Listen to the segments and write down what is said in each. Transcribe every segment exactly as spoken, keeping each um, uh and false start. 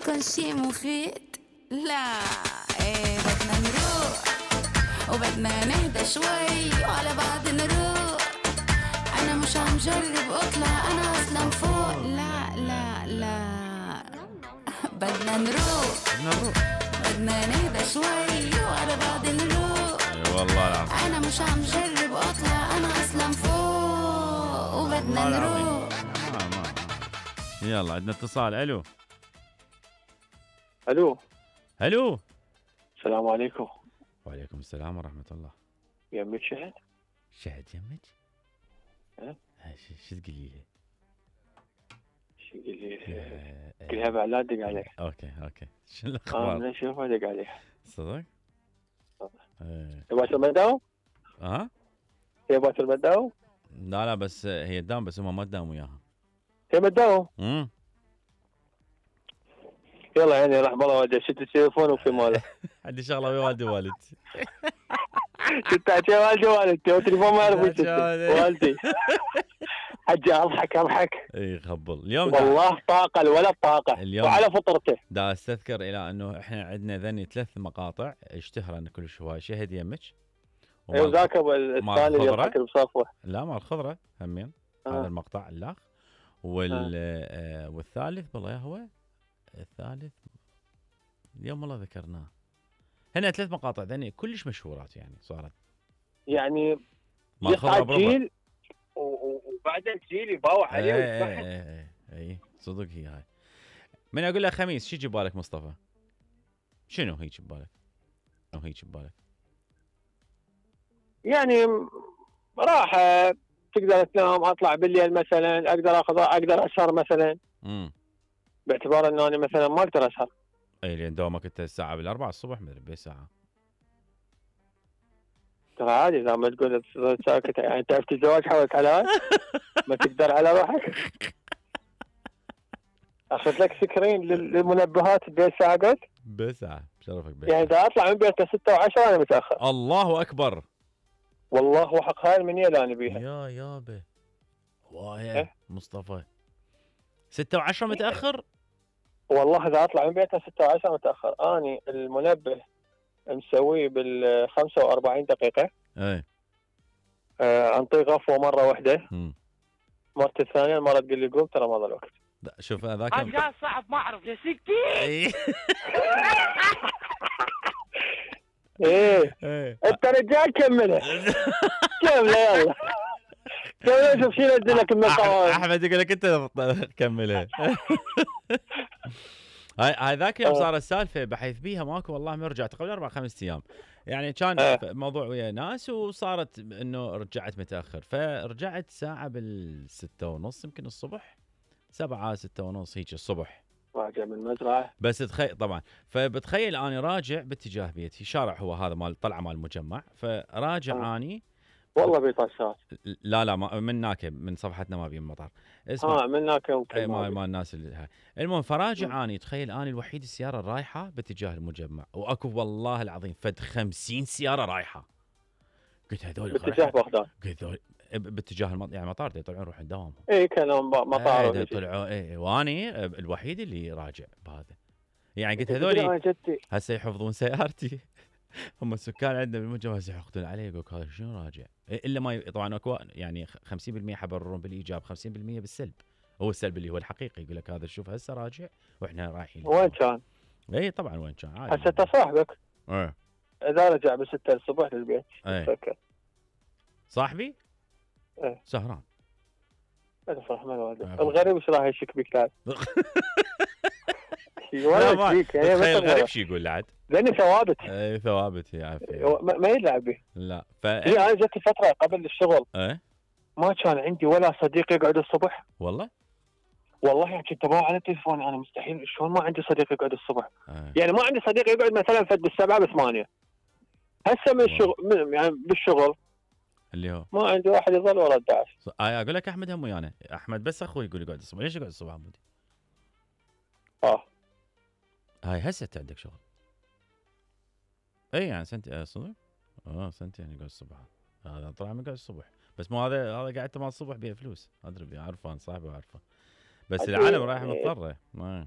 تكون شي مفيد. لا ايه بدنا نروح وبدنا نهدى شوي وعلى بعض نروح. انا مش عم جرب اطلع انا اصلا فوق. لا لا لا بدنا نروح بدنا نهدى شوي وعلى بعض نروح. اي والله العظيم انا مش عم جرب اطلع انا اصلا فوق وبدنا نروح. ما ما يلا عندنا اتصال. الو الو الو السلام عليكم. وعليكم السلام ورحمة الله. يمك شهد؟ شهد يمك؟ ها؟ شو شو تقولي لي؟ شو تقولي لي؟ قلها بعد لا تدق عليه. اوكي اوكي شو اه الاخبار؟ من اشوفه دق عليه. صدق؟ ايه تبغى المداوم؟ ها؟ تبغى المداوم؟ لا لا بس هي تداوم بس هم ما تداوم وياها. هي مداوم؟ امم يلا يعني راح بالله والدي شفت التليفون وفي ماله. عندي شغله ويا والدي ووالدتي. شفت حكي والدي ووالدتي والتليفون ما يعرف وش والدي. حجي اضحك اضحك. اي خبل اليوم والله طاقه ولا طاقه اليوم وعلى فطرته. دا استذكر الى انه احنا عندنا ذني ثلاث مقاطع اشتهرن كل شوي. شهد يمك ايوه ذاك الثاني اللي يضحك بصفوه. لا مال الخضره همين آه. هذا المقطع الاخ وال آه. والثالث والله هو الثالث اليوم والله ذكرناه. هنا ثلاث مقاطع ذني كلش مشهورات يعني صارت يعني يصعد جيل وبعدين جيل يباوع عليه ويذبحه. اي اي صدق هي هاي. من اقول له خميس شو يجي ببالك مصطفى؟ شنو هيك ببالك؟ شنو هيك ببالك؟ يعني راحه تقدر تنام اطلع بالليل مثلا اقدر اخذ اقدر اسهر مثلا. امم باعتبار انه انا مثلا ما اقدر اسهر. اي لان دوامك انت الساعه بالاربعة الصبح مدري بساعه. ترى عادي اذا ما تقول ساكت يعني تعرف الزواج حولك على ما تقدر على روحك. اخذ لك سكرين للمنبهات بين ساعه قلت؟ بساعه بشرفك بساعه. يعني اذا اطلع من بيتنا ستة وعشرة انا متاخر. الله اكبر. والله وحق هاي المنيه اللي انا بيها. يا يابا وايه إيه؟ مصطفى ستة وعشرة متاخر؟ والله اذا اطلع من بيتنا ستة وعشرة متاخر. اني المنبه مسويه بال خمسة وأربعين دقيقه. اي آه انطيه غفوه مره واحده. امم مرت الثانيه المره تقول لي قوم ترى ما ضل وقت. شوف هذاك هذا صعب ما اعرف ليش كثير. ايه انت رجال كمله كمله يلا كمله. شوف شو ينزل لك المقام. احمد يقول لك انت كملها. هاي هاي ذاك يوم صار السالفه بحيث بيها ماكو والله ما رجعت قبل اربع خمس ايام يعني كان أه. موضوع ويا ناس وصارت انه رجعت متاخر فرجعت ساعه بالستة ونص يمكن الصبح سبعة ستة ونص هيك الصبح راجع من المزرعه. بس تخيل طبعا فبتخيل اني راجع باتجاه بيتي شارع هو هذا مال طلعه مال المجمع فراجع أه. اني والله بيطشات. لا لا ما من هناك من صفحتنا ما بين المطار. اسمع اه من هناك يمكن ما ما الناس اللي هاي. المهم فراجع اني تخيل اني الوحيد السياره الرايحه باتجاه المجمع واكو والله العظيم فد خمسين سياره رايحه. قلت هذول باتجاه بغداد. قلت هذول باتجاه المط... يعني مطار يطلعون يروحون دوامهم. اي كانوا مطار اي طلعوا اي واني الوحيد اللي راجع بهذا يعني قلت هذول هسه يحفظون سيارتي. هم السكان عندنا بالمجمع يحقدون علي يقول هذا شنو راجع الا ما طبعا اكو يعني خمسين بالمئة حبررون بالايجاب خمسين بالمئة بالسلب. هو السلب اللي هو الحقيقي يقول لك هذا شوف هسه راجع واحنا رايحين. وين كان؟ اي طبعا وين كان عادي. هسه صاحبك ايه اذا رجع بستة الصبح للبيت ايه صاحبي؟ ايه سهران. انا فرح من والده الغريب ايش راح يشك بك ثاني؟ لا ما تخيل غريب شي يقول لعد لاني ثوابت. اي ثوابت يا عافيه ما يلعب به. لا ف انا جت فتره قبل الشغل ايه ما كان عندي ولا صديق يقعد الصبح. والله والله يعني كنت ابغى على التليفون انا مستحيل شلون ما عندي صديق يقعد الصبح. أه. يعني ما عندي صديق يقعد مثلا فد بالسبعه بالثمانيه. هسه من الشغل من يعني بالشغل اللي هو ما عندي واحد يظل ورا الدعس. آه اقول لك احمد هم ويانا احمد بس اخوي يقول يقعد الصبح. ليش يقعد الصبح عمودي؟ اه هاي هسه انت عندك شغل. اي يعني سنتي صدق؟ اه سنتين يعني يقعد الصبح. هذا طلع من قاعد الصبح بس مو هذا هذا قاعد مال الصبح بيه فلوس ادري بيه عرفان صاحبه عارفه بس العالم رايح مضطره ما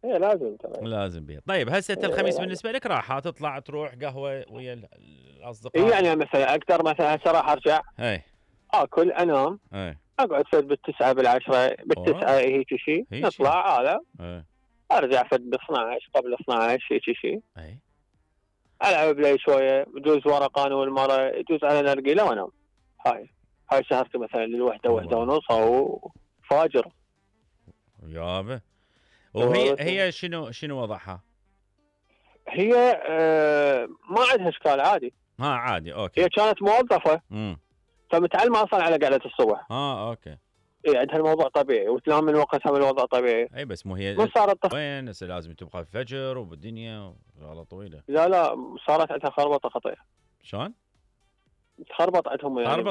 ايه لازم ترى. لازم بيض. طيب هسه إيه الخميس لازم. بالنسبه لك راحه، تطلع تروح قهوه ويا ال- الاصدقاء؟ اي يعني مثلا اقدر مثلا هسه راح ارجع اي اكل انام اي اقعد فد بالتسعه بالعشره بالتسعه هيك شيء هيك نطلع هذا اي ارجع فد ب اثنعش قبل اثنعش هيك شيء اي العب بلاي شويه يجوز ورا قانون المره يجوز على نرجيله وانام. هاي هاي سهرتي مثلا للوحده وحده ونص او فاجر. يابا. وهي هي شنو شنو وضعها؟ هي آه ما عندها اشكال عادي. ها عادي اوكي. هي كانت موظفه امم فمتعلمه اصلا على قعده الصبح. اه اوكي. اي عندها الموضوع طبيعي وتنام من وقتها من الوضع طبيعي. اي بس مو هي ما صارت طف... وين هسه لازم تبقى الفجر وبالدنيا شغله طويله. لا لا صارت عندها خربطه خطيره. شلون؟ تخربط عندهم يعني خربط